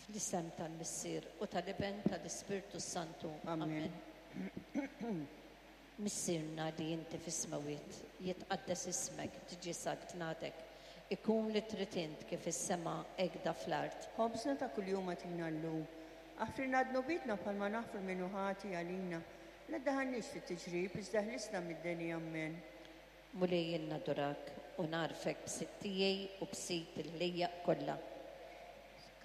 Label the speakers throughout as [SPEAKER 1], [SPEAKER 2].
[SPEAKER 1] Fl-isem tal-Missier u tal-Iben tal-Ispirtu s-Santu.
[SPEAKER 2] Amen.
[SPEAKER 1] Missierna li inti fis-smewwiet, jitqaddes ismek, tiġi saltnatek, ikun li trid int kif is-sema hekk da fl-art.
[SPEAKER 2] Ħobżna ta' kuljum agħtina llum. Aħfrilna dnubietna bħalma naħfru min hu ħati għalina. La ddaħħalniex fit-tiġrib, iżda ħlisna mid-deni. Ammen.
[SPEAKER 1] Mulej jien nadurak u nagħrfek b'Sid tiegħi u b'Sid il-ħlejjaq kollha.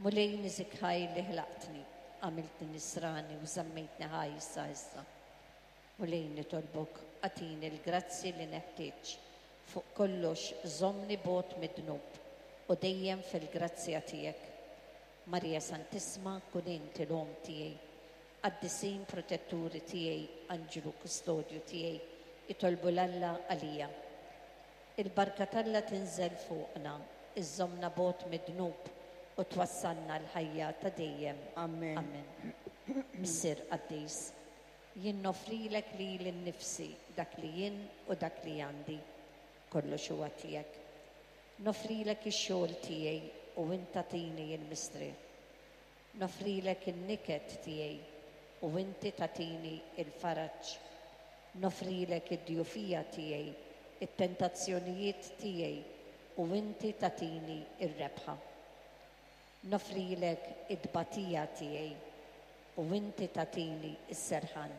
[SPEAKER 1] Mulej niżik ħaj li ħlaqtni, għamiltni nisrani u żammejtni ħaj sa issa. Mulej nitolbok agħtini l-grazzji li neħtieġ. Fuq kollox żommni bogħod mid-dnub u dejjem fil-grazzja tiegħek. Marija Santissma kun inti l-Omm tiegħi. Qaddisin protetturi tiegħi, anġlu kustodju tiegħi, itolbu 'l Alla għalija. Il-barka t'Alla tinżel fuqna, iżżommna bogħod mid-dnub u twassalna għall-ħajja ta' dejjem.
[SPEAKER 2] Amen.
[SPEAKER 1] Amen. Missier qaddis, jien noffrilek lili nnifsi, dak li jien u dak li għandi. Kollox huwa tiegħek. Noffrilek ix-xogħol tiegħi u int tagħtini l-mistrieħ. Noffrilek in-niket tiegħi u inti tagħtini l-faraġ. Noffrilek id-djufija tiegħi, it-tentazzjonijiet tiegħi u inti tagħtini r-rebħa. Noffrilek it-tbatija tiegħi u inti tagħtini s-serħan.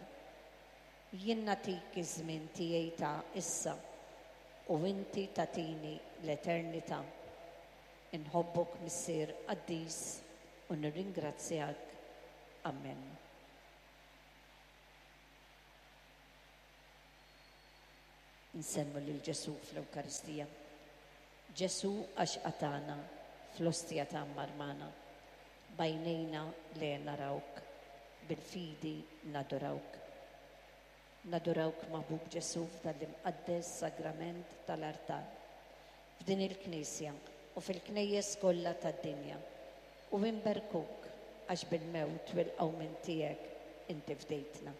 [SPEAKER 1] Jien nagħtik iż-żmien tiegħi ta' issa u inti tagħtini l-eternità. Inħobbok Missier qaddis u nirringrazzjak. Amen. Insellmu lil Ġesù fl-Ewkaristija. Ġesù għax qatagħna fl-ostja tgħammar magħna. B'għajnejna le narawk, bil-fidi nadurawk. Nadurawk Maħbub Ġesù f'dan l-imqaddes sagrament tal-artal, f'din il-knisja u fil-knejjes kollha tad-dinja, u inberkuk għax bil-mewt u l-qawmien tiegħek inti fdejtna.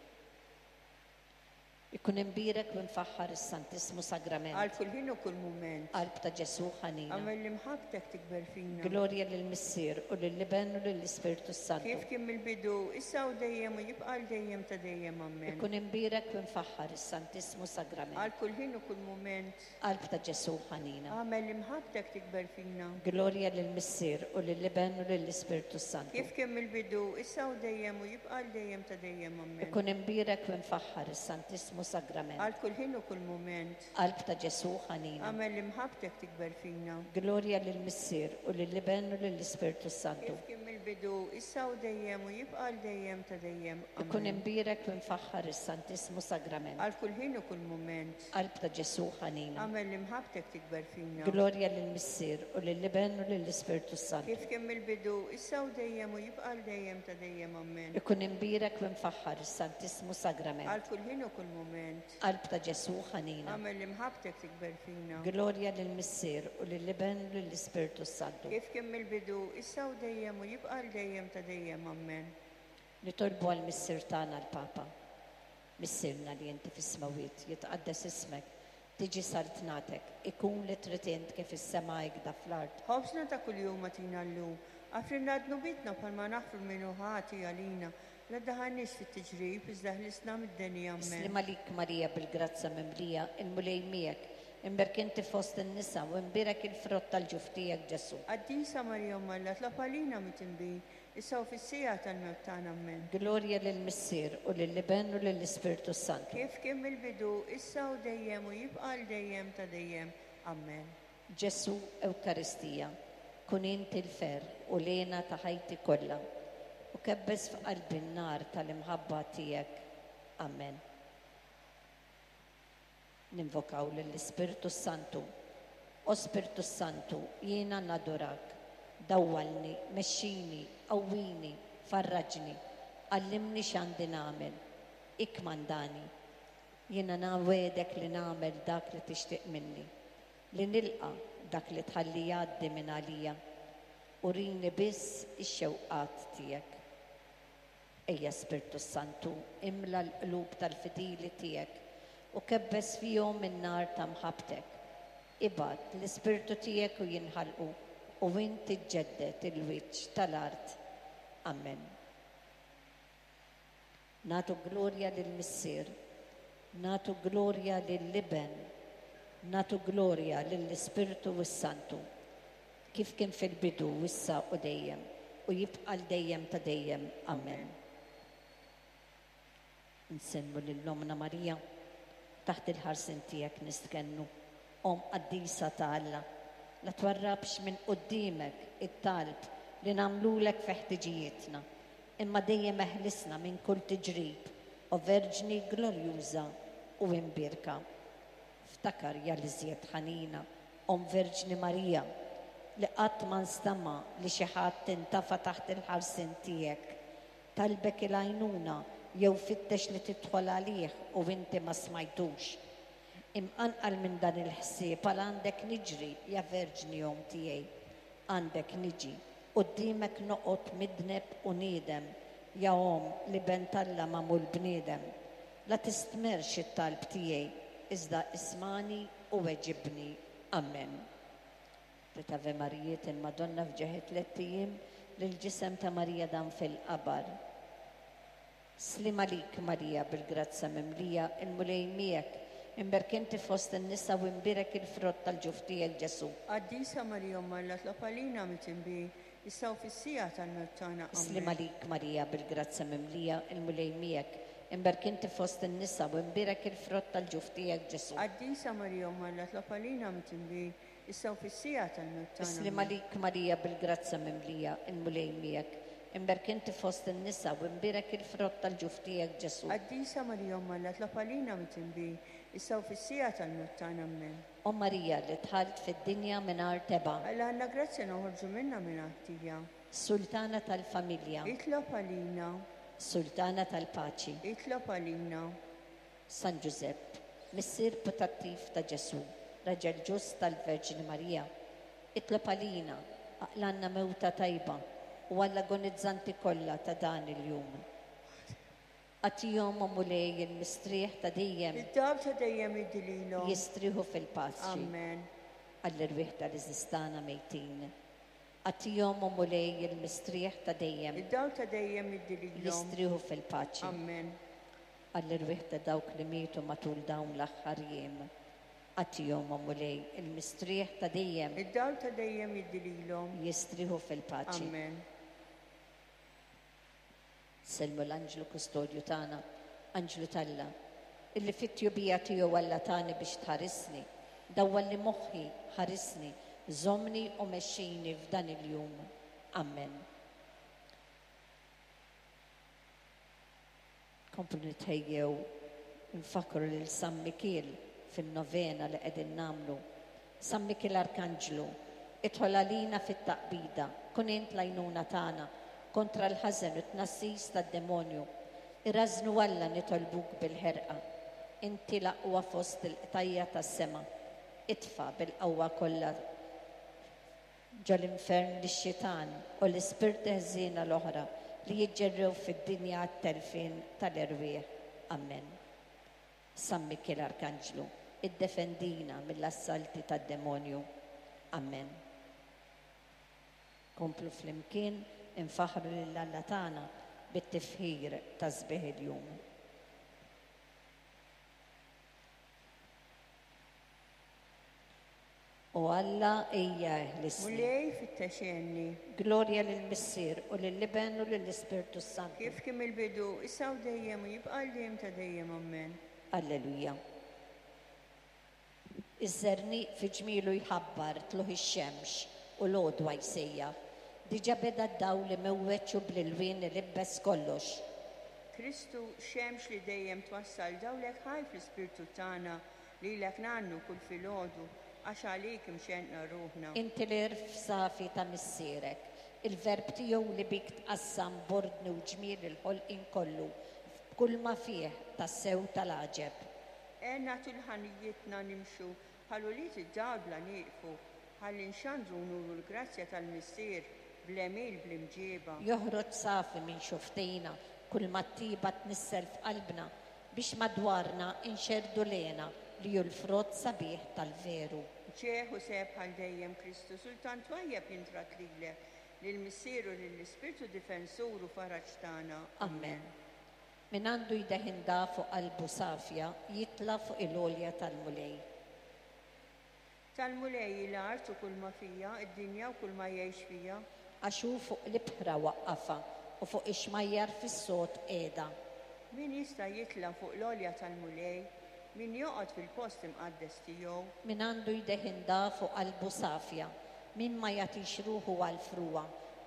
[SPEAKER 1] Ikun imbierek u imfaħħar is-Santissmu Sagrament.
[SPEAKER 2] Għal kull ħin u kull mument.
[SPEAKER 1] Qalb ta' Ġesù ħanina.
[SPEAKER 2] Agħmel li mħabbtek tikber fina.
[SPEAKER 1] Glorja lill-Missier u lill-Iben u lill-Ispirtu s-Santu.
[SPEAKER 2] Kif kien mill-bidu, issa u dejjem u jibqa' għal dejjem ta' dejjem. Ammen.
[SPEAKER 1] Ikun imbierek u imfaħħar is-Santissmu Sagrament.
[SPEAKER 2] Għal kull ħin u kull mument.
[SPEAKER 1] Qalb ta' Ġesù ħanina.
[SPEAKER 2] Agħmel li mħabbtek tikber fina.
[SPEAKER 1] Glorja lill-Missier u lill-Iben u lill-Ispirtu s-Santu.
[SPEAKER 2] Kif kien mill-bidu, issa u dejjem u jibqa' għal dejjem ta' dejjem. Ammen.
[SPEAKER 1] Ikun imbierek u imfaħħar is-Santissmu Sagrament.
[SPEAKER 2] Għal kull ħin u kull mument.
[SPEAKER 1] Qalb ta' Ġesù ħanina.
[SPEAKER 2] Agħmel li mħabbtek tikber fina.
[SPEAKER 1] Glorja lill-Missier u lill-Iben u lill-Ispirtu s-Santu.
[SPEAKER 2] Kif kien mill-bidu, issa u dejjem u jibqa' għal dejjem ta' dejjem. Ammen.
[SPEAKER 1] Ikun imbierek u imfaħħar is-Santissmu Sagrament.
[SPEAKER 2] Għal kull ħin u kull mument.
[SPEAKER 1] Qalb ta' Ġesù ħanina.
[SPEAKER 2] Agħmel li mħabbtek tikber fina.
[SPEAKER 1] Glorja lill-Missier u lill-Iben u lill-Ispirtu s-Santu.
[SPEAKER 2] Kif kien mill-bidu, issa u dejjem u jibqa' għal dejjem ta' dejjem. Ammen.
[SPEAKER 1] Ikun imbierek u imfaħħar is-Santissmu Sagrament.
[SPEAKER 2] Għal kull ħin u kull mument.
[SPEAKER 1] Qalb ta' Ġesù ħanina.
[SPEAKER 2] Agħmel li mħabbtek tikber fina.
[SPEAKER 1] Glorja lill-Missier u lill-Iben u lill-Ispirtu s-Santu.
[SPEAKER 2] Kif kien mill-bidu, issa u dejjem u jibqa' għal dejjem ta' dejjem. Ammen.
[SPEAKER 1] Nitolbu għall-Missier tagħna l-Papa. Missierna li inti fis-smewwiet, jitqaddes ismek, tiġi saltnatek, ikun li trid int kif fis-sema hekda fl-art.
[SPEAKER 2] Ħobżna ta' kuljum agħtina llum. Aħfrilna dnubietna bħalma naħfru 'l min hu ħati għalina. La ddaħħalniex fit-tiġrib, iżda ħlisna mid-deni. Ammen.
[SPEAKER 1] Sliem għalik Marija bil-grazzja mimlija, il-Mulej miegħek. Imbierk inti fost in-nisa u imbierek il-frott tal-ġuf tiegħek Ġesù.
[SPEAKER 2] Qaddisa Marija Omm Alla, tlob għalina midinbin, Issa u fis-siegħa tal-mewt tagħna. Ammen.
[SPEAKER 1] Glorja lill-Missier, u lill-Iben, u lill-Ispirtu s-Santu.
[SPEAKER 2] Kif kien mill-bidu, issa u dejjem u jibqa' għal dejjem ta' dejjem. Ammen.
[SPEAKER 1] Ġesù Ewkaristija, kun int il-ferħ u l-hena ta' ħajti kollha, u kebbes f'qalbi n-nar tal-imħabba tiegħek. Ammen. Ninvokaw lill-Ispirtu s-Santu. O Spirtu s-Santu, jiena nadurak. Dawwalni, mexxini, qawwini, farraġni, għallimni x'għandi nagħmel. Ikkmandani. Jiena nwegħdek li nagħmel dak li tixtieq minni, li nilqa' dak li tħalli jgħaddi minn għalija. Urini biss ix-xewqat tiegħek. Ejja Spirtu s-Santu, imla l-qlub tal-fidili tiegħek u kebbes fihom in-nar ta' mħabbtek. Ibgħat l-Ispirtu tiegħek u jinħalqu u int iġġedded il-wiċċ tal-art. Amen. Nagħtu glorja lill-Missier, nagħtu glorja lill-Iben, nagħtu glorja lill-Ispirtu s-Santu, kif kien fil-bidu, issa u dejjem, u jibqa' għal dejjem ta' dejjem. Amen. Insellmu lil Ommna Marija, taħt il-ħarsien tiegħek nistkennu, Omm qaddisa ta' Alla, la twarrabx minn quddiemek it-talb li nagħmlulek fi ħtiġijietna, imma dejjem eħlisna minn kull tiġrib, o Verġni glorjuża u imbierka. Ftakar, ja l-iżjed ħanina, Omm Verġni Marija, li qatt ma nstama' li xi ħadd intafa' taħt il-ħarsien tiegħek, talbek il-għajnuna jew fittex li tidħol għalih u inti ma smajtux. Imqanqal minn dan il-ħsieb għal għandek niġri, ja Verġni Omm tiegħi. Għandek niġi. Quddiemek noqgħod midneb u niedem, ja Omm l-Iben t'Alla magħmul bniedem. La tistmerrx it-talb tiegħi, iżda ismagħni u weġibni. Amen. Tliet Ave Marijiet il-Madonna f'ġieħ it-tlett ijiem li l-ġisem ta' Marija dam fil-qabar. Sliem għalik Marija bil-grazzja mimlija, il-Mulej miegħek, imberk inti fost in-nisa u imbierek il-frott tal-ġuf tiegħek Ġesù.
[SPEAKER 2] Qaddisa Marija Omm Alla tlob għalina mitinbin, issa u fis-siegħa tal-mewt tagħna. Amen.
[SPEAKER 1] Sliem għalik Marija bil-grazzja mimlija, il-Mulej miegħek, imberk inti fost in-nisa u imbierek il-frott tal-ġuf tiegħek Ġesù.
[SPEAKER 2] Qaddisa Marija Omm Alla tlob għalina mitinbin, issa u fis-siegħa tal-mewt tagħna.
[SPEAKER 1] Sliem għalik Marija bil-grazzja mimlija, il-Mulej miegħek, imberk inti fost in-nisa u imbierek il-frott tal-ġuf tiegħek Ġesù.
[SPEAKER 2] Qaddisa Marija Omm Alla tlob għalina mitinbin, issa u fis-siegħa tal-mewt tagħna. Amen.
[SPEAKER 1] O Marija li dħalt fid-dinja mingħajr tebgħa.
[SPEAKER 2] Alla għandna grazzja noħorġu minnha mingħajr ħtija.
[SPEAKER 1] Sultana tal-familja.
[SPEAKER 2] Itlob għalina.
[SPEAKER 1] Sultana tal-paċi.
[SPEAKER 2] Itlob għalina.
[SPEAKER 1] San Ġużepp, missier putattiv ta' Ġesù, raġel ġust tal-Verġni Marija, itlob għalina, aqlgħalna mewta tajba u għall-agonizzanti kollha ta' dan il-jum. Agħtihom, o Mulej, il-mistrieħ ta' dejjem.
[SPEAKER 2] Id-dawl ta' dejjem iddi lilhom.
[SPEAKER 1] Jistrieħu fil-paċi.
[SPEAKER 2] Amen.
[SPEAKER 1] Għall-erwieħ tal-għeżież tagħna mejtin. Agħtihom, o Mulej, il-mistrieħ ta' dejjem.
[SPEAKER 2] Id-dawl ta' dejjem iddi lilhom.
[SPEAKER 1] Jistrieħu fil-paċi.
[SPEAKER 2] Amen.
[SPEAKER 1] Għall-erwieħ ta' dawk li mietu matul dawn l-aħħar jiem. Agħtihom, o Mulej, il-mistrieħ ta' dejjem.
[SPEAKER 2] Id-dawl ta' dejjem iddi lilhom.
[SPEAKER 1] Jistrieħu fil-paċi.
[SPEAKER 2] Amen.
[SPEAKER 1] Sellmu l-anġlu kustodju tagħna, anġlu t'Alla, illi fit-tjubija tiegħu Alla tani biex tħarisni, dawwalli moħħi, ħarisni, żommni u mexxini f'dan il-jum. Amen. Komplu nitħejjew nfakru lil San Mikiel fin-novena li qegħdin nagħmlu. San Mikiel Arkanġlu, idħol għalina fit-taqbida, kun int l-għajnuna tagħna kontra l-ħażen u t-tnassis tad-demonju. Irażżnu Alla nitolbuk bil-ħerqa. Inti l-aqwa fost il-qtajja tas-sema. Itfa' bil-qawwa kollha ġol-infern lix-xitan u l-ispirti ħżiena l-oħra li jiġġerrew fid-dinja għat-telfien tal-erwieħ. Amen. San Mikiel Arkanġlu, iddefendina mill-assalti tad-demonju. Amen. Komplu flimkien infaħħru lil Alla tagħna bit-tifħir ta' sbieħ il-jum. O Alla, ejja eħlisni.
[SPEAKER 2] Mulej, fittex għenni.
[SPEAKER 1] Glorja lill-Missier u lill-Iben u lill-Ispirtu s-Santu.
[SPEAKER 2] Kif kien mill-bidu, issa u dejjem u jibqa' għal dejjem ta' dejjem. Amen.
[SPEAKER 1] Alleluja. Iż-żerniq fi ġmielu jħabbar tlugħ ix-xemx u l-għodwa jsejjaħ. Diġà beda d-dawl imewweġ u bl-ilwien ilibbes kollox.
[SPEAKER 2] Kristu, xemx li dejjem twassal dawlek ħaj fl-ispirtu tagħna, lilek ngħannu kull filgħodu, għax għalik imxennqa ruħna.
[SPEAKER 1] Inti l-għerf safi ta' missierek, il-verb tiegħu li bik tqassam b'ordni u ġmiel il-ħolqien kollu, f'kull ma fih tassew tal-għaġeb.
[SPEAKER 2] Għenna tul ħajjitna nimxu bħal ulied id-dawl bla nieqfu, ħalli nxandru u nuru l-grazzja tal-Missier bl-għemil bl-imġieba.
[SPEAKER 1] Joħroġ safi minn xufftejna kull ma t-tjieba tnissel f'qalbna biex madwarna nxerrdu l-hena li hu l-frott sabiħ tal-veru.
[SPEAKER 2] Ġieħ u sebħ għal dejjem Kristu, sultan twajjeb jintrat lilek. Lill-Missier u lill-Ispirtu Difensur u Faraġ tagħna.
[SPEAKER 1] Amen. Min għandu jdejh indaf u qalbu safja jitla' fuq il-għolja tal-Mulej.
[SPEAKER 2] Tal-Mulej hi l-art u kulma fiha, id-dinja u kulma jgħix fiha.
[SPEAKER 1] Għax hu fuq l-ibħra waqqafha, u fuq ix-xmajjar fis-sod qiegħda.
[SPEAKER 2] Min jista' jitla' fuq l-għolja tal-Mulej? Min joqgħod fil-post imqaddes tiegħu?
[SPEAKER 1] Min għandu jdejh indaf u qalbu safja, min ma jagħtix ruħu għall-frugħa,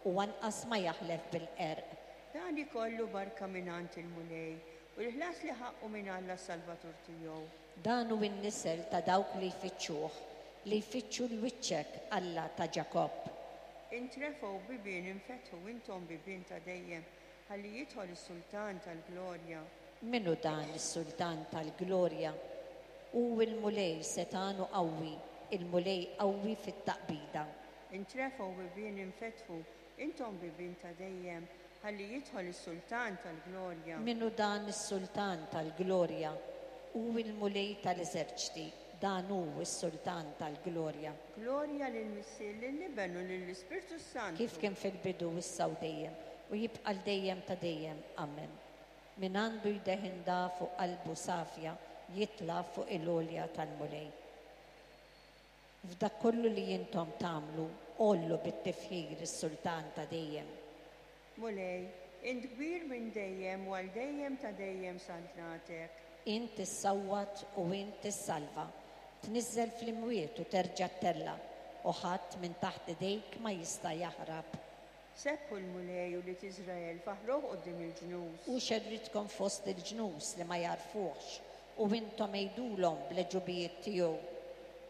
[SPEAKER 1] u anqas ma jaħlef bil-qerq.
[SPEAKER 2] Dan ikollu barka mingħand il-Mulej, u l-ħlas li ħaqqu minn Alla s-Salvatur tiegħu.
[SPEAKER 1] Dan hu n-nisel ta' dawk li jfittxuh, li jfittxu 'l wiċċek, Alla ta' Ġakobb.
[SPEAKER 2] Intrefgħu bibien infetħu intom bibien ta' dejjem, ħalli jidħol is-Sultan tal-glorja.
[SPEAKER 1] Min hu dan is-Sultan tal-glorja? Hu l-Mulej setgħan u qawwi, il-Mulej qawwi fit-taqbida.
[SPEAKER 2] Intrefgħu bibien infetħu intom bibien ta' dejjem, ħalli jidħol is-Sultan tal-glorja.
[SPEAKER 1] Min hu dan is-Sultan tal-glorja? Hu l-Mulej tal-eżerċti, dan hu s-Sultan tal-glorja.
[SPEAKER 2] Glorja lill-Missier, lill-Iben u lill-Ispirtu s-Santu.
[SPEAKER 1] Kif kien fil-bidu, issa u dejjem, u jibqa' 'l dejjem ta' dejjem. Amen. Min għandu jdejh indaf u qalbu safja jitla' fuq il-għolja tal-Mulej. F'dak kollu li intom tagħmlu, għollu bit-tifħir is-Sultan ta' dejjem.
[SPEAKER 2] Mulej, int kbir minn dejjem u għal dejjem ta' dejjem saltnatek.
[SPEAKER 1] Int issawwat u int issalva, tniżżel fl-imwiet u terġa' ttella', u ħadd minn taħt idejk ma jista' jaħrab.
[SPEAKER 2] Sebbħu l-Mulej, ulied Iżrael, faħħruh quddiem il-ġnus.
[SPEAKER 1] Hu xerridkom fost il-ġnus li ma jagħrfuhx, u intom għidulhom bl-għeġubijiet tiegħu.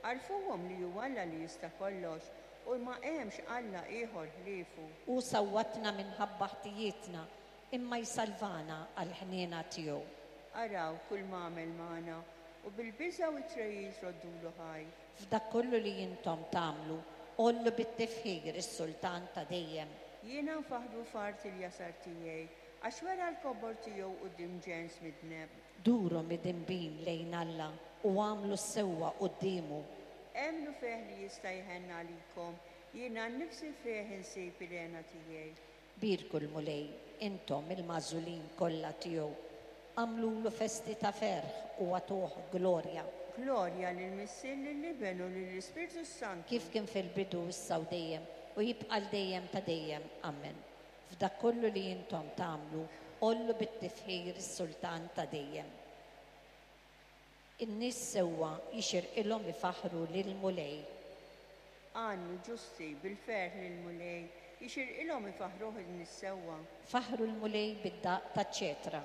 [SPEAKER 2] Għarrfuhom li hu Alla li jista' kollox, u ma hemmx Alla ieħor ħliefu.
[SPEAKER 1] Hu sawwatna minħabba ħtijietna, imma jsalvana għall-ħniena tiegħu.
[SPEAKER 2] Araw kulma għamel magħna, u bil-biża' u t-tregħid roddulu ħajr.
[SPEAKER 1] F'dak kollu li intom tagħmlu, għollu bit-tifħir is-Sultan ta' dejjem.
[SPEAKER 2] Jiena nfaħħru f'art il-jasar tiegħi, għax wera l-kobor tiegħu quddiem ġens midneb.
[SPEAKER 1] Duru midinbin lejn Alla u agħmlu s-sewwa quddiemu.
[SPEAKER 2] Emmnu fih li jista' jħenn għalikom, jiena nnifsi fih insib il-hena tiegħi.
[SPEAKER 1] Bierku l-Mulej, intom il-magħżulin kollha tiegħu. Agħmlulu festi ta' ferħ u agħtuh glorja.
[SPEAKER 2] Glorja lill-Missier, lill-Iben u lill-Ispirtu s-Santu.
[SPEAKER 1] Kif kien fil-bidu, issa u dejjem, u jibqa' 'l dejjem ta' dejjem. Amen. F'dak kollu li intom tagħmlu, għollu bit-tifħir is-Sultan ta' dejjem. In-nies sewwa jixirqilhom ifaħħru lill-Mulej.
[SPEAKER 2] Għannu, ġusti, bil-ferħ lill-Mulej, jixirqilhom ifaħħruh in-nies sewwa.
[SPEAKER 1] Faħħru l-Mulej bid-daqq taċ-ċetra,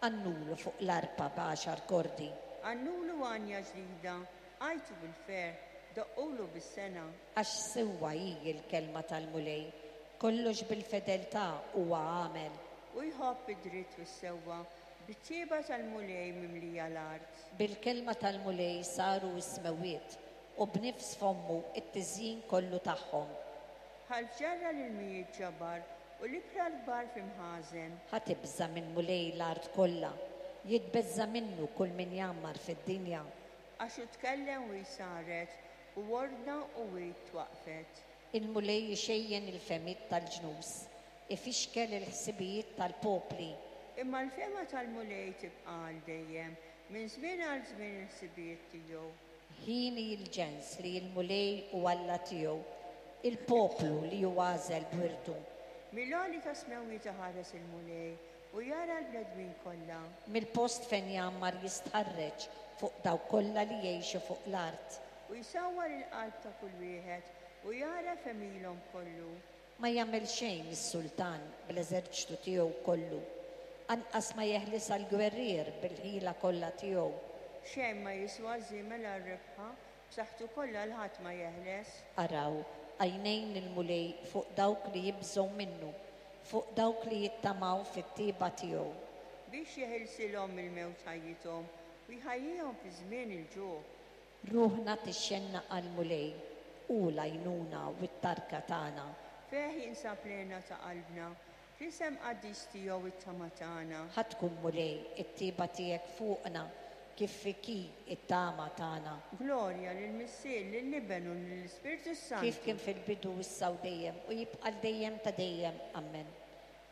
[SPEAKER 1] għannulu fuq l-arpa b'għaxar kordi.
[SPEAKER 2] Għannulu għanja ġdida, għajtu bil-ferħ, doqqulu bis-sengħa.
[SPEAKER 1] Għax sewwa hi l-kelma tal-Mulej, kollox bil-fedeltà huwa għamel.
[SPEAKER 2] Hu jħobb id-dritt u s-sewwa, Bit-tjieba tal-Mulej mimlija l-art.
[SPEAKER 1] Bil-kelma tal-Mulej saru s-smewwiet, u b'nifs fommu t-tiżjin kollu tagħhom.
[SPEAKER 2] Bħal f'ġarra l-ilmijiet ġabar, u l-ibħra l-kbar fi mħażen.
[SPEAKER 1] Ħa tibża' mill-Mulej l-art kollha, jitbeżża' minnu kull min jgħammar fid-dinja.
[SPEAKER 2] Għax hu tkellem u hi saret, u ordna u hi twaqqfet.
[SPEAKER 1] Il-Mulej ixejjen il-fehmiet tal-ġnus, ifixkel il-ħsibijiet tal-popli.
[SPEAKER 2] Imma l-fehma tal-Mulej tibqa' għal dejjem, minn żmien għal żmien il-ħsibijiet tiegħu.
[SPEAKER 1] Hieni l-ġens li l-Mulej hu Alla tiegħu, il-poplu li hu għażel b'wirtu.
[SPEAKER 2] Mill-għoli tas-smewwiet iħares il-Mulej, u jara l-bnedmin kollha.
[SPEAKER 1] Mill-post fejn jgħammar jistħarreġ fuq dawk kollha li jgħixu fuq l-art.
[SPEAKER 2] U jsawwar il-qalb ta' kull wieħed, u jagħraf għemilhom kollu.
[SPEAKER 1] Ma jagħmel xejn is-sultan bl-eżerċtu tiegħu kollu, anqas ma jeħlisha l-gwerrier bil-ħila kollha tiegħu.
[SPEAKER 2] Xejn ma jiswa ż-żiemel għar-rebħa, b'saħħtu kollha 'l ħadd ma jeħles.
[SPEAKER 1] Araw, għajnejn il-Mulej fuq dawk li jibżgħu minnu, fuq dawk li jittamaw fit-tjieba tiegħu.
[SPEAKER 2] Biex jeħilsilhom mill-mewt ħajjithom, u jħajjihom fi żmien il-ġuħ.
[SPEAKER 1] Ruħna tixxennaq għall-Mulej, hu l-għajnuna u t-tarka tagħna.
[SPEAKER 2] Fih jinsab l-hena ta' qalbna, fl-isem qaddis tiegħu t-tama tagħna.
[SPEAKER 1] Ħa tkun, Mulej, it-tjieba tiegħek fuqna, kif fik hi t-tama tagħna.
[SPEAKER 2] Glorja lill-Missier, lill-Iben u lill-Ispirtu
[SPEAKER 1] Kif
[SPEAKER 2] s-Santu.
[SPEAKER 1] kien fil-bidu, issa u dejjem, u jibqa' għal dejjem ta' dejjem. Ammen.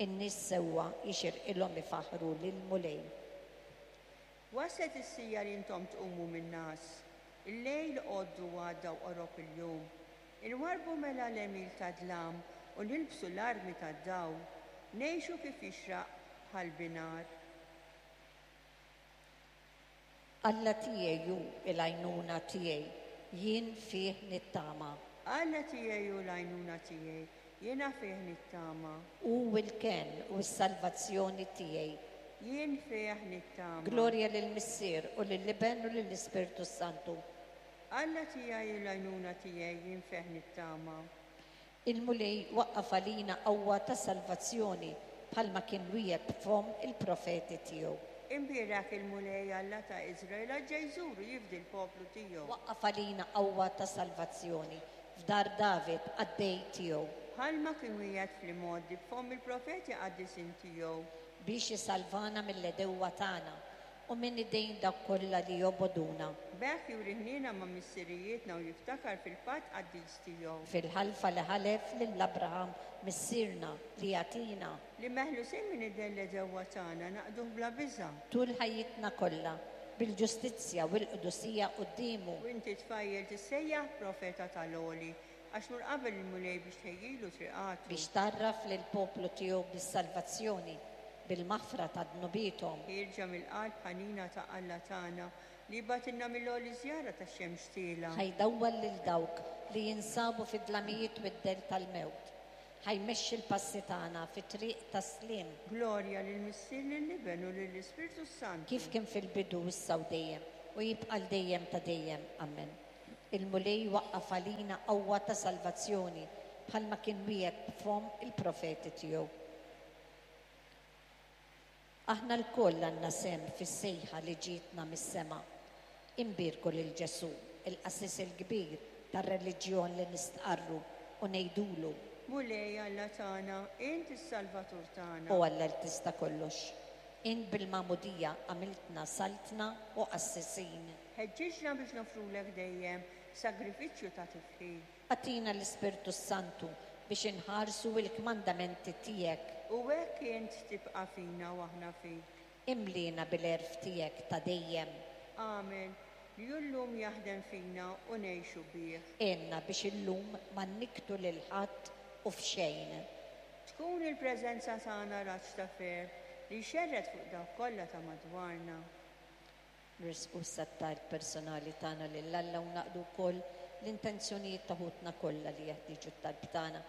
[SPEAKER 1] In-nies sewwa jixirqilhom ifaħħru lill-Mulej.
[SPEAKER 2] Waslet is-siegħa li intom tqumu min-ngħas. Il-lejl għoddu għadda u qorob il-jum. Inwarrbu mela l-għemil tad-dlam u nilbsu l-armi tad-dawl. Ngħixu kif jixraq bħal binhar.
[SPEAKER 1] Alla tiegħi hu l-għajnuna tiegħi, jien fih nittama.
[SPEAKER 2] Alla tiegħi hu l-għajnuna tiegħi, jiena fih nittama.
[SPEAKER 1] Hu l-kenn u s-salvazzjoni tiegħi.
[SPEAKER 2] Jien fih nittama.
[SPEAKER 1] Glorja lill-Missier u lill-Iben u lill-Ispirtu s-Santu.
[SPEAKER 2] Alla tiegħi hu l-għajnuna tiegħi, jien fih nittama.
[SPEAKER 1] Il-Mulej waqqaf għalina qawwa ta' salvazzjoni bħalma kien wiegħed b'fomm il-profeti tiegħu.
[SPEAKER 2] Imbierek il-Mulej Alla ta' Iżrael għax ġej jżur u jifdi l-poplu tiegħu.
[SPEAKER 1] Waqqaf għalina qawwa ta' salvazzjoni f'dar David qaddej tiegħu.
[SPEAKER 2] Bħalma kien wiegħed fl-imgħoddi b'fomm il-profeti qaddisin tiegħu.
[SPEAKER 1] Biex isalvana mill-għedewwa tagħna u minn idejn dawk kollha li jobogħduna.
[SPEAKER 2] B'hekk juri ħniena ma' missirijietna u jiftakar fil-patt qaddis tiegħu.
[SPEAKER 1] Fil-ħalfa li ħalef lil Abraham missierna li jagħtina.
[SPEAKER 2] Li meħlusin minn idejn l-għedewwa tagħna naqduh bla biża'.
[SPEAKER 1] Tul ħajjitna kollha, bil-ġustizzja u l-qdusija quddiemu.
[SPEAKER 2] U inti tfajjel tissejjaħ profeta tal-Għoli, għax tmur qabel il-Mulej biex tħejjilu triqatu.
[SPEAKER 1] Biex tgħarraf lill-poplu tiegħu bis-salvazzjoni, bil-maħfra ta' dnubiethom.
[SPEAKER 2] Ħierġa mill-qalb ħanina ta' Alla tagħna, li jibgħatilna mill-għoli żjara tax-xemx tielgħa.
[SPEAKER 1] Ħa jdawwal lil dawk li jinsabu fid-dlamijiet u d-dell tal-mewt, ħa jmexxi l-passi tagħna fit-triq tas-sliem.
[SPEAKER 2] Glorja lill-Missier, lill-Iben u lill-Ispirtu s-Santu.
[SPEAKER 1] Kif kien fil-bidu, issa u dejjem, u jibqa' għal dejjem ta' dejjem. Ammen. Il-Mulej waqqaf għalina qawwa ta' salvazzjoni bħalma kien wiegħed b'fomm il-profeti tiegħu. Aħna lkoll għandna sehem fis-sejħa li ġietna mis-sema. Inbierku lil Ġesù, il-Qassis il-Kbir tar-reliġjon li nistqarru, u ngħidulu.
[SPEAKER 2] Mulej Alla tagħna, int is-Salvatur tagħna.
[SPEAKER 1] O Alla li tista' kollox, int bil-magħmudija għamiltna saltna u qassisin.
[SPEAKER 2] Ħeġġiġna biex noffrulek dejjem sagrifiċċju ta' tifħir.
[SPEAKER 1] Agħtina l-Ispirtu s-Santu biex inħarsu l-kmandamenti tiegħek.
[SPEAKER 2] U hekk int tibqa' fina u aħna fik.
[SPEAKER 1] Imliena bil-għerf tiegħek ta' dejjem.
[SPEAKER 2] Agħmel li hu llum jaħdem fina u ngħixu bih.
[SPEAKER 1] Għinna biex illum ma nnikktu lil ħadd u f'xejn.
[SPEAKER 2] Tkun il-preżenza tagħna raġġ ta' ferħ li jxerred fuq dawk kollha ta' madwarna.
[SPEAKER 1] Nressqu issa t-talb personali tagħna lil Alla u naqdu wkoll l-intenzjonijiet ta' ħutna kollha li jeħtieġu t-talb tagħna,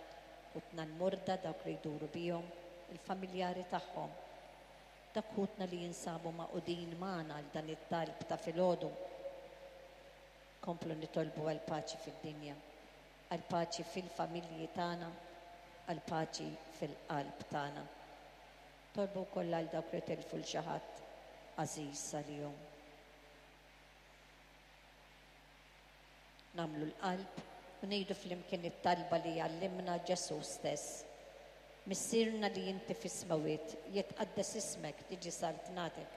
[SPEAKER 1] ħutna l-morda, dawk li jduru bihom, il-familjari tagħhom, dak ħutna li jinsabu magħqudin magħna għal dan it-talb ta' filgħodu. Komplu nitolbu għall-paċi fid-dinja, għall-paċi fil-familji tagħna, għall-paċi fil-qalb tagħna. Tolbu wkoll għal dawk li tilfu 'l xi ħadd għażiż għalihom. Nagħmlu l-qalb u ngħidu flimkien it-talba li għallimna Ġesù stess. Missierna li inti fis-smewwiet, jitqaddes ismek, tiġi saltnatek,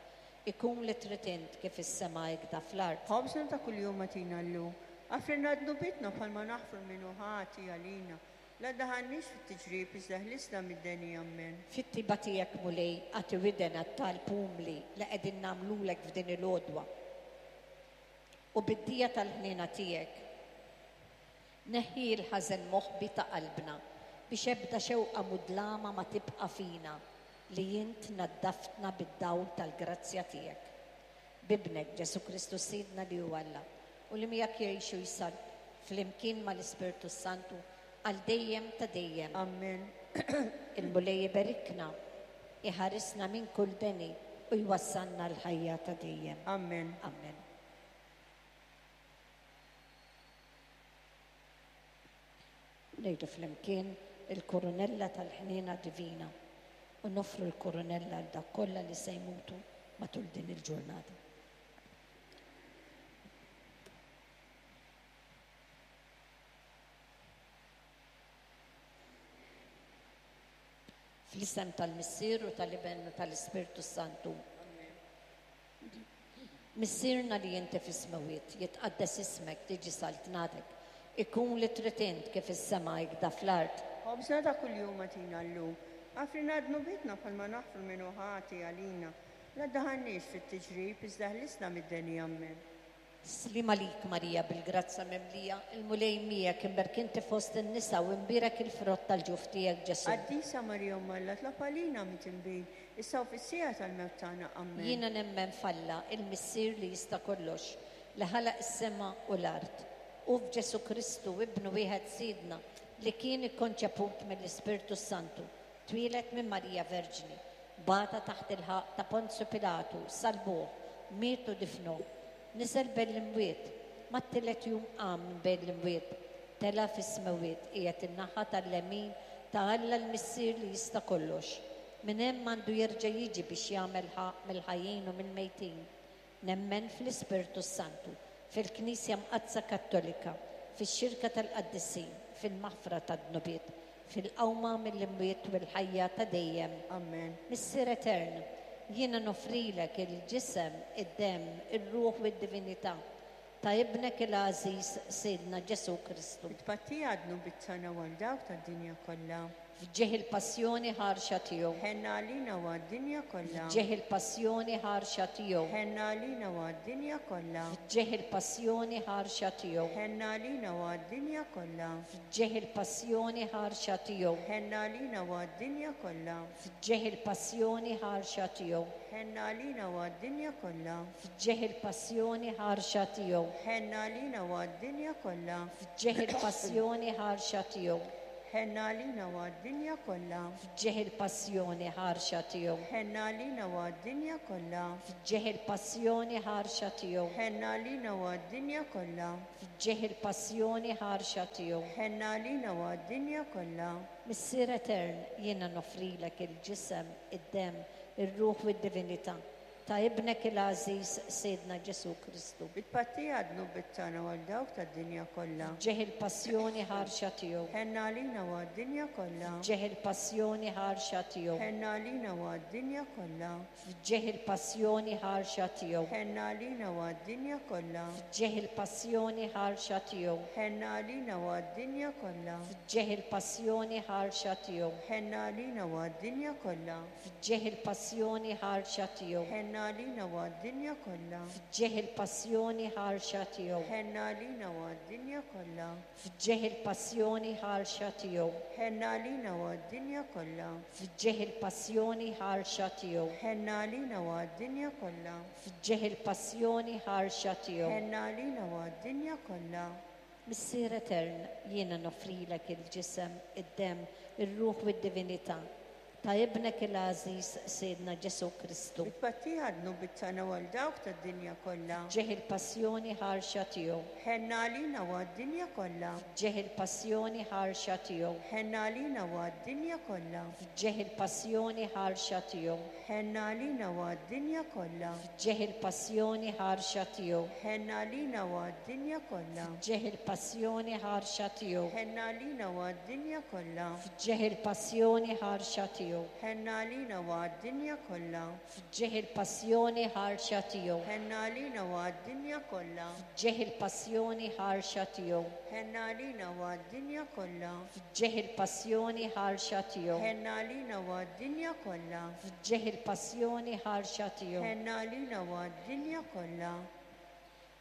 [SPEAKER 1] ikun li trid int kif is-sema hekda fl-art.
[SPEAKER 2] Ħobżna ta' kuljum agħtina llum. Aħfrilna dnubietna bħalma naħfru 'l min hu ħati għalina. La ddaħħalniex fit-tiġrib, iżda ħlisna mid-deni. Ammen.
[SPEAKER 1] Fit-tiba tiegħek, Mulej, agħti widen għat-talb umli li qegħdin nagħmlulek f'din il-għodwa. U bid-dija tal-ħniena tiegħek, neħħi l-ħażen moħbi ta' qalbna, biex ebda xewqa mudlama ma tibqa' fina, li int naddaftna bid-dawl tal-grazzja tiegħek. B'Ibnek, Ġesù Kristu Sidna li hu Alla, u li miegħek jgħix u jsaltan flimkien mal-Ispirtu s-Santu għal dejjem ta' dejjem.
[SPEAKER 2] Ammen.
[SPEAKER 1] Il-Mulej iberikna, iħarisna minn kull deni u jwassalna l-ħajja ta' dejjem.
[SPEAKER 2] Ammen.
[SPEAKER 1] Ammen. Ngħidu flimkien il-kurunella tal-ħniena divina u noffru l-kurunella għal dak kollha li se jmutu matul din il-ġurnata. Fl-isem tal-Missier u tal-Iben u tal-Ispirtu Santu. Missierna li inti fis-smewwiet, jitqaddes ismek, tiġi saltnatek, ikun li trid int kif is-sema hekda fl-art.
[SPEAKER 2] Ħobżna ta' kuljum agħtina llum. Aħfrilna dnubietna bħalma naħfru min hu ħati għalina. La ddaħħalniex fit-tiġrib, iżda ħlisna mid-deni. Ammen.
[SPEAKER 1] Sliem għalik Marija bil-grazzja mimlija, il-Mulej miegħek, imberk inti fost in-nisa u imbierek il-frott tal-ġuf tiegħek Ġesù.
[SPEAKER 2] Qaddisa Marija Omm Alla, tlob għalina midinbin, issa u fis-siegħa tal-mewt tagħna. Ammen.
[SPEAKER 1] Jiena nemmen f'Alla, il-Missier li jista' kollox, li ħalaq is-sema u l-art, u f'Ġesù Kristu, Ibnu wieħed Sidna, li kien ikkonċeput mill-Ispirtu s-Santu, twieled minn Marija Verġni, bata taħt il-ħaqq ta' Ponzju Pilatu, salbuh, miet u difnuh, niżel bejn l-imwiet, mat-tielet jum qam minn bejn l-imwiet, tela' fis-smewwiet, qiegħed in-naħa tal-lemin ta' Alla l-Missier li jista' kollox. Minn hemm għandu jerġa' jiġi biex jagħmel ħaqq mill-ħajjin u mill-mejtin. Nemmen fl-Ispirtu s-Santu, fil-Knisja Mqaddsa Kattolika, fix-xirka tal-qaddisin, fil-maħfra tad-dnubiet, fil-qawma mill-imwiet u l-ħajja ta' dejjem.
[SPEAKER 2] Ammen.
[SPEAKER 1] Missier Etern, jiena noffrilek il-ġisem, id-demm, ir-ruħ u d-divinità ta' Ibnek il-għażiż Sidna Ġesù Kristu.
[SPEAKER 2] It-tpattija għad-dnubiet tagħna u għal dawk tad-dinja kollha.
[SPEAKER 1] F'ġieħ il-passjoni ħarxa tiegħu.
[SPEAKER 2] Ħenna għalina u għad-dinja kollha.
[SPEAKER 1] F'ġieħ il-passjoni ħarxa tiegħu.
[SPEAKER 2] Ħenna għalina u għad-dinja kollha.
[SPEAKER 1] F'ġieħ il-passjoni ħarxa tiegħu.
[SPEAKER 2] Ħenna għalina u għad-dinja kollha.
[SPEAKER 1] F'ġieħ il-passjoni ħarxa tiegħu.
[SPEAKER 2] Ħenna għalina u għad-dinja kollha.
[SPEAKER 1] F'ġieħ il-passjoni ħarxa tiegħu.
[SPEAKER 2] Ħenna għalina u għad-dinja kollha.
[SPEAKER 1] F'ġieħ il-passjoni ħarxa tiegħu.
[SPEAKER 2] Ħenna għalina u għad-dinja kollha.
[SPEAKER 1] F'ġieħ il-passjoni ħarxa tiegħu.
[SPEAKER 2] Ħenna għalina u għad-dinja kollha.
[SPEAKER 1] F'ġieħ il-passjoni ħarxa tiegħu.
[SPEAKER 2] Ħenna għalina u għad-dinja kollha.
[SPEAKER 1] F'ġieħ il-passjoni ħarxa tiegħu.
[SPEAKER 2] Ħenna għalina u għad-dinja kollha.
[SPEAKER 1] F'ġieħ il-passjoni ħarxa tiegħu.
[SPEAKER 2] Ħenna għalina u għad-dinja kollha.
[SPEAKER 1] Missier Etern, jiena noffrilek il-ġisem, id-demm, ir-ruħ u d-divinità ta' Ibnek il-għażiż Sidna Ġesù Kristu.
[SPEAKER 2] It-tpattija għad-dnubiet tagħna u għal dawk tad-dinja kollha.
[SPEAKER 1] F'ġieħ il-passjoni ħarxa tiegħu.
[SPEAKER 2] Ħenna għalina u għad-dinja kollha.
[SPEAKER 1] F'ġieħ il-passjoni ħarxa tiegħu.
[SPEAKER 2] Ħenna għalina u għad-dinja kollha.
[SPEAKER 1] F'ġieħ il-passjoni ħarxa tiegħu.
[SPEAKER 2] Ħenna għalina u għad-dinja kollha.
[SPEAKER 1] F'ġieħ il-passjoni ħarxa tiegħu.
[SPEAKER 2] Ħenna għalina u għad-dinja kollha.
[SPEAKER 1] F'ġieħ il-passjoni ħarxa tiegħu.
[SPEAKER 2] Ħenna għalina u għad-dinja kollha.
[SPEAKER 1] F'ġieħ il-passjoni ħarxa tiegħu.
[SPEAKER 2] Ħenna għalina u għad-dinja kollha.
[SPEAKER 1] F'ġieħ il-passjoni ħarxa tiegħu.
[SPEAKER 2] Ħenna għalina u għad-dinja kollha.
[SPEAKER 1] F'ġieħ il-passjoni ħarxa tiegħu.
[SPEAKER 2] Ħenna għalina u għad-dinja kollha.
[SPEAKER 1] F'ġieħ il-passjoni ħarxa tiegħu.
[SPEAKER 2] Ħenna għalina u għad-dinja kollha.
[SPEAKER 1] F'ġieħ il-passjoni ħarxa tiegħu.
[SPEAKER 2] Ħenna għalina u għad-dinja kollha.
[SPEAKER 1] Missier Etern, jiena noffrilek il-ġisem, id-demm, ir-ruħ u d-divinità ta' Ibnek il-għażiż Sidna Ġesù Kristu.
[SPEAKER 2] It-tpattija għad-dnubiet tagħna u għal dawk tad-dinja kollha.
[SPEAKER 1] F'ġieħ il-passjoni ħarxa tiegħu.
[SPEAKER 2] Ħenna għalina u għad-dinja kollha.
[SPEAKER 1] F'ġieħ il-passjoni ħarxa tiegħu.
[SPEAKER 2] Ħenna għalina u għad-dinja kollha.
[SPEAKER 1] F'ġieħ il-passjoni ħarxa tiegħu.
[SPEAKER 2] Ħenna għalina u għad-dinja kollha.
[SPEAKER 1] F'ġieħ il-passjoni ħarxa tiegħu.
[SPEAKER 2] Ħenna għalina u għad-dinja kollha.
[SPEAKER 1] F'ġieħ il-passjoni ħarxa tiegħu.
[SPEAKER 2] Ħenna għalina u għad-dinja kollha.
[SPEAKER 1] F'ġieħ il-passjoni ħarxa tiegħu.
[SPEAKER 2] Ħenna għalina u għad-dinja kollha.
[SPEAKER 1] F'ġieħ il-passjoni ħarxa tiegħu.
[SPEAKER 2] Ħenna għalina u għad-dinja kollha.
[SPEAKER 1] F'ġieħ il-passjoni ħarxa tiegħu.
[SPEAKER 2] Ħenna għalina u għad-dinja kollha.
[SPEAKER 1] F'ġieħ il-passjoni ħarxa tiegħu.
[SPEAKER 2] Ħenna għalina u għad-dinja kollha.
[SPEAKER 1] F'ġieħ il-passjoni ħarxa tiegħu.
[SPEAKER 2] Ħenna għalina u għad-dinja kollha.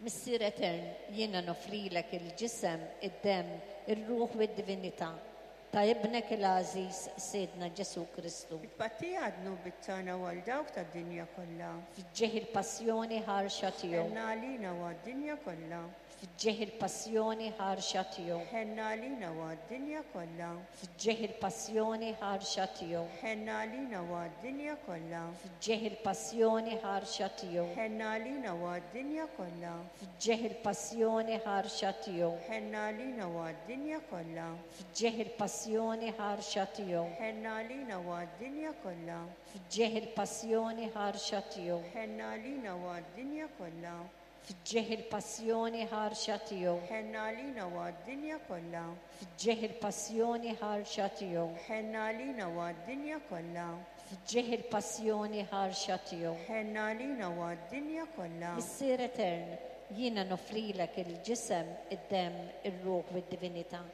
[SPEAKER 1] Missier Etern, jiena noffrilek il-ġisem, id-demm, ir-ruħ u d-divinità ta' Ibnek il-għażiż Sidna Ġesù Kristu.
[SPEAKER 2] It-tpattija għad-dnubiet tagħna u għal dawk tad-dinja kollha.
[SPEAKER 1] F'ġieħ il-passjoni ħarxa tiegħu.
[SPEAKER 2] Ħenna għalina u għad-dinja kollha.
[SPEAKER 1] F'ġieħ il-passjoni ħarxa tiegħu.
[SPEAKER 2] Ħenna għalina u għad-dinja kollha.
[SPEAKER 1] F'ġieħ il-passjoni ħarxa tiegħu.
[SPEAKER 2] Ħenna għalina u għad-dinja kollha.
[SPEAKER 1] F'ġieħ il-passjoni ħarxa tiegħu.
[SPEAKER 2] Ħenna għalina u għad-dinja kollha.
[SPEAKER 1] F'ġieħ il-passjoni ħarxa tiegħu.
[SPEAKER 2] Ħenna għalina u għad-dinja kollha.
[SPEAKER 1] F'ġieħ il-passjoni ħarxa tiegħu.
[SPEAKER 2] Ħenna għalina u għad-dinja kollha.
[SPEAKER 1] F'ġieħ il-passjoni ħarxa tiegħu.
[SPEAKER 2] Ħenna għalina u għad-dinja kollha.
[SPEAKER 1] F'ġieħ il-passjoni ħarxa tiegħu.
[SPEAKER 2] Ħenn għalina u għad-dinja kollha.
[SPEAKER 1] F'ġieħ il-passjoni ħarxa tiegħu.
[SPEAKER 2] Ħenn għalina u għad-dinja kollha.
[SPEAKER 1] F'ġieħ il-passjoni ħarxa tiegħu.
[SPEAKER 2] Ħenn għalina u għad-dinja kollha.
[SPEAKER 1] Missier etern, jiena noffrilek il-ġisem, id-demm, ir-ruħ u d-divinità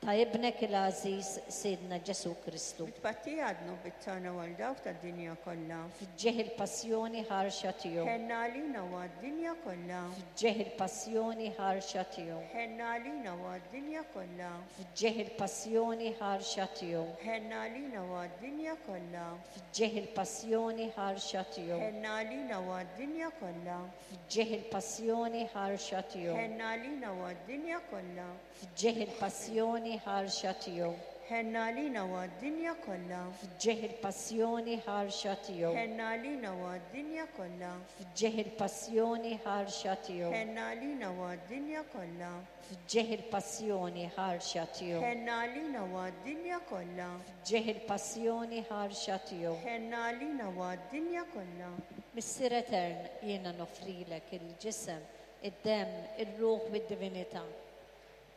[SPEAKER 1] ta' Ibnek il-għażiż Sidna Ġesù Kristu.
[SPEAKER 2] Bi tpattija għad-dnubiet tagħna u għal dawk tad-dinja kollha.
[SPEAKER 1] F'ġieħ il-passjoni ħarxa tiegħu.
[SPEAKER 2] Ħenn għalina u għad-dinja kollha.
[SPEAKER 1] F'ġieħ il-passjoni ħarxa tiegħu.
[SPEAKER 2] Ħenn għalina u għad-dinja kollha.
[SPEAKER 1] F'ġieħ il-passjoni ħarxa tiegħu.
[SPEAKER 2] Ħenn għalina u għad-dinja kollha.
[SPEAKER 1] F'ġieħ il-passjoni ħarxa tiegħu.
[SPEAKER 2] Ħenn għalina u għad-dinja kollha.
[SPEAKER 1] F'ġieħ il-passjoni ħarxa tiegħu.
[SPEAKER 2] Ħenn għalina u għad-dinja kollha.
[SPEAKER 1] F'ġieħ il-passjoni ħarxa tiegħu.
[SPEAKER 2] Ħenn għalina u għad-dinja kollha.
[SPEAKER 1] F'ġieħ il-passjoni ħarxa tiegħu.
[SPEAKER 2] Ħenn għalina u għad-dinja kollha.
[SPEAKER 1] F'ġieħ il-passjoni ħarxa tiegħu.
[SPEAKER 2] Ħenn għalina u għad-dinja kollha.
[SPEAKER 1] F'ġieħ il-passjoni ħarxa tiegħu.
[SPEAKER 2] Ħenn għalina u għad-dinja kollha.
[SPEAKER 1] F'ġieħ il-passjoni ħarxa tiegħu.
[SPEAKER 2] Ħenn għalina u għad-dinja kollha.
[SPEAKER 1] Missier etern, jiena noffrilek il-ġisem, id-demm, ir-ruħ u d-divinità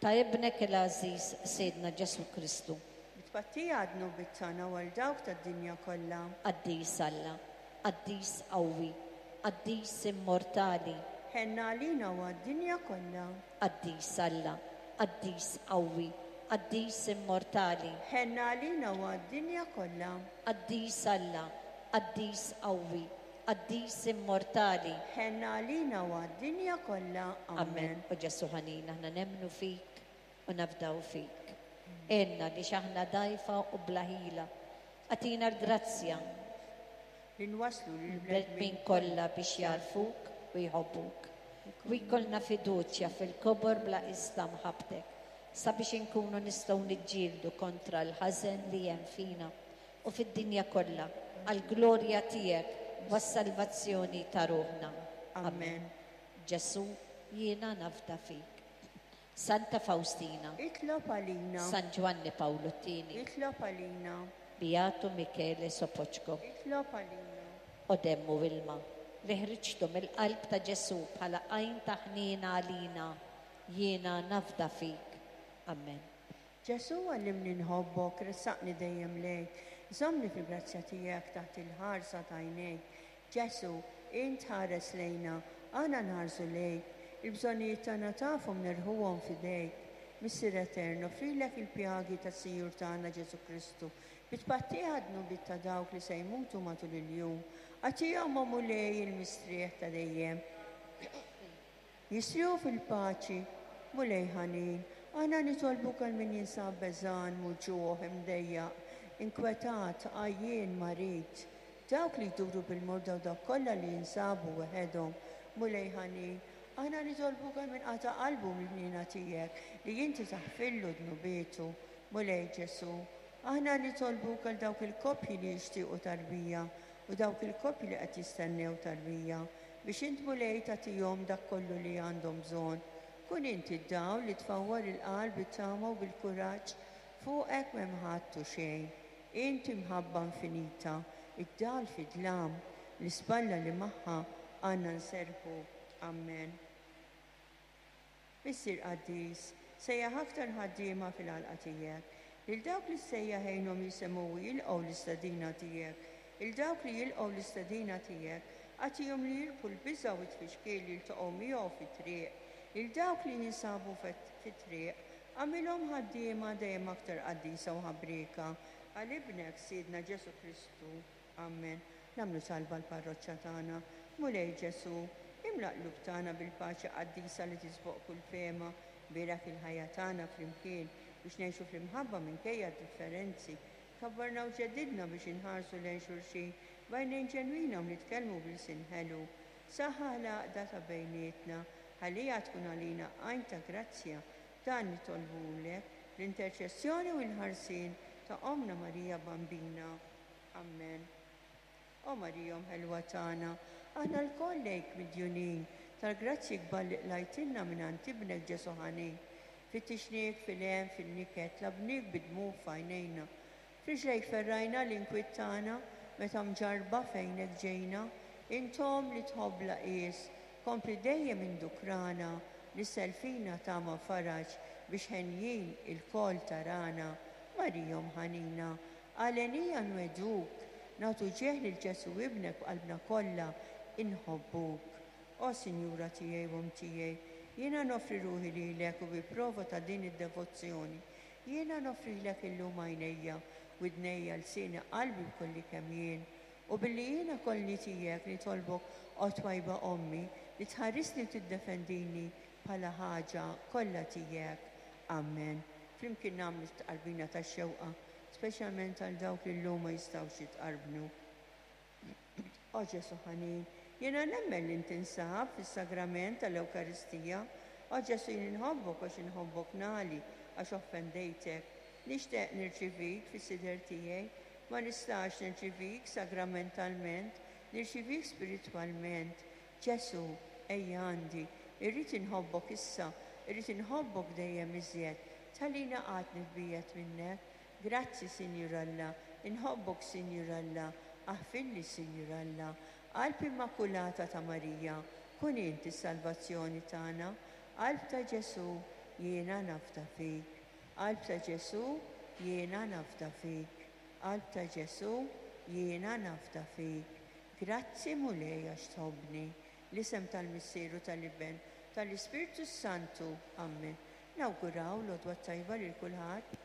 [SPEAKER 1] ta' Ibnek il-għażiż Sidna Ġesù Kristu.
[SPEAKER 2] Bi tpattija għad-dnubiet tagħna u għal dawk tad-dinja kollha.
[SPEAKER 1] Qaddis Alla, Qaddis qawwi, Qaddis immortali.
[SPEAKER 2] Ħenn għalina u għad-dinja kollha.
[SPEAKER 1] Qaddis Alla, Qaddis qawwi, Qaddis immortali.
[SPEAKER 2] Ħenn għalina u għad-dinja kollha.
[SPEAKER 1] Qaddis Alla, Qaddis qawwi, Qaddis immortali.
[SPEAKER 2] Ħenn għalina u għad-dinja kollha.
[SPEAKER 1] Amen. O Ġesù ħanin, aħna nemmnu fik u nafdaw fik. Għinna għaliex aħna dgħajfa u bla ħila. Agħtina l-grazzja
[SPEAKER 2] li nwasslu
[SPEAKER 1] lill-bnedmin kollha biex jagħrfuk u jħobbuk. U jkollna fiduċja fil-kobor bla qies ta' mħabbtek, sabiex inkunu nistgħu niġġieldu kontra l-ħażen li hemm fina u fid-dinja kollha, għall-glorja tiegħek u għas-salvazzjoni ta' ruħna.
[SPEAKER 2] Amen.
[SPEAKER 1] Ġesù, jiena nafda fik. Santa Fawstina.
[SPEAKER 2] Itlob għalina.
[SPEAKER 1] San Ġwanni Pawlu t-Tieni.
[SPEAKER 2] Itlob għalina.
[SPEAKER 1] Beatu Michele Sopoċko.
[SPEAKER 2] Itlob għalina.
[SPEAKER 1] O demm u ilma, li ħriġtu mill-qalb ta' Ġesù bħala għajn ta' ħniena għalina, jiena nafda fik. Amen.
[SPEAKER 2] Ġesù għallimni nħobbok, ressaqni dejjem lejk, żommni fil-grazzja tiegħek taħt il-ħarsa t'għajnejk. Ġesù, int tħares lejna, aħna nħarsu lejk. Il-bżonnijiet tagħna tafhom nerħuhom f'idejk. Missier Etern, noffrilek il-pjagi tas-Sinjur tagħna Ġesù Kristu, bi tpattih għad-dnubiet ta' dawk li se jmutu matul il-jum. Agħtihom, o Mulej, il-mistrieħ ta' dejjem. Jistrieħu fil-paċi, Mulej ħanin, aħna nitolbuk għal min jinsab beżgħan, muġugħ, imdejjaq, inkwetat, għajjien, marid, dawk li jduru bil-morda u dawk kollha li jinsabu weħedhom. Mulej ħanin, aħna nitolbuk għal min qata' qalbu mill-ħniena tiegħek, li inti taħfirlu dnubietu. Mulej Ġesù, aħna nitolbuk għal dawk il-koppji li jixtiequ tarbija u dawk il-koppji li qed jistennew tarbija, Biex int Mulej tagħtihom dak kollu li għandhom bżonn. Kun int id-dawl li tfawwar il-qalb bit-tama u bil-kuraġġ. Fuqek m'hemm ħadd u xejn. Int imħabba infinita, id-dawl fid-dlam, l-ispalla li magħha għandna nserrħu. Ammen. Missier qaddis, sejjaħ aktar ħaddiema fil-għalqa tiegħek. Lil dawk li ssejjaħ għinhom jisimgħu u jilqgħu l-istedina tiegħek. Lil dawk li jilqgħu l-istedina tiegħek, agħtihom li jirbħu l-biża' u t-tfixkil li jiltaqgħu miegħu fit-triq. Lil dawk li jinsabu fit-triq, agħmilhom ħaddiema dejjem aktar qaddisa u ħabrieka għal Ibnek, Sidna Ġesù Kristu. Ammen. Nagħmlu talba għall-parroċċa tagħna. Mulej Ġesù, imla l-qlub tagħna bil-paċi qaddisa li tisboq kull fehma. Bierek il-ħajja tagħna flimkien biex ngħixu fl-imħabba minkejja d-differenzi. Kabbarna u ġeddidna biex inħarsu lejn xulxin b'għajnejn ġenwina u nitkellmu b'ilsien ħelu. Saħħaħ l-għaqda ta' bejnietna, ħalliha tkun għalina għajn ta' grazzja. Dan nitolbulek bl-interċessjoni u l-ħarsien ta' Ommna Marija Bambina. Ammen. O Marija Omm ħelwa tagħna, aħna lkoll lejk midjunin tal-grazzji kbar li qlajtilna mingħand Ibnek Ġesù ħanin. Fittixniek fil-hemm, fin-niket, tlabniek bid-dmugħ f'għajnejna. F'riġlejk ferrajna l-inkwiet tagħna meta mġarrba fejnek ġejna. Int Omm li tħobb bla qies. Kompli dejjem indukrana, nissel fina tama u faraġ biex henjin ilkoll tarana. Marija Omm ħanina, għalenija nwegħduk, nagħtu ġieħ lil Ġesù Ibnek b'qalbna kollha, inħobbuk. O Sinjura tiegħi u Omm tiegħi, jiena noffri ruħi lilek u bi prova ta' din id-devozzjoni, jiena noffrilek illum għajnejja, widnejja, lsieni, qalbi b'kolli kemm jien. U billi jiena kollni tiegħek nitolbok, O twajba Ommi, li tħarisni u tiddefendini bħala ħaġa kollha tiegħek. Ammen. Flimkien nagħmlu t-tqarbina tax-xewqa, speċjalment għal dawk li llum ma jistgħux jitqarbnu. O Ġesù ħanin, jiena nemmen li int tinsab fis-sagrament tal-Ewkaristija. O Ġesù jien inħobbok għax inħobbok nagħli għax offendejtek. Nixtieq nirċivik fis-sider tiegħi. Ma nistax nirċivik sagramentalment, nirċivik spiritwalment. Ġesù, ejja għandi. Irrid inħobbok issa, irrid inħobbok dejjem iżjed. Tħallini qatt nitbiegħed minnek. Grazzi, Sinjur Alla, inħobbok, Sinjur Alla, aħfirli, Sinjur Alla. Qalb Immakulata ta' Marija, kun int is-salvazzjoni tagħna. Qalb ta' Ġesù, jiena nafda fik. Qalb ta' Ġesù, jiena nafda fik. Qalb ta' Ġesù, jiena nafda fik. Grazzi Mulej għax tħobbni. L-isem tal-Missier u tal-Iben, tal-Ispirtu s-Santu. Ammen. Nawguraw l-għodwa t-tajba lil kulħadd.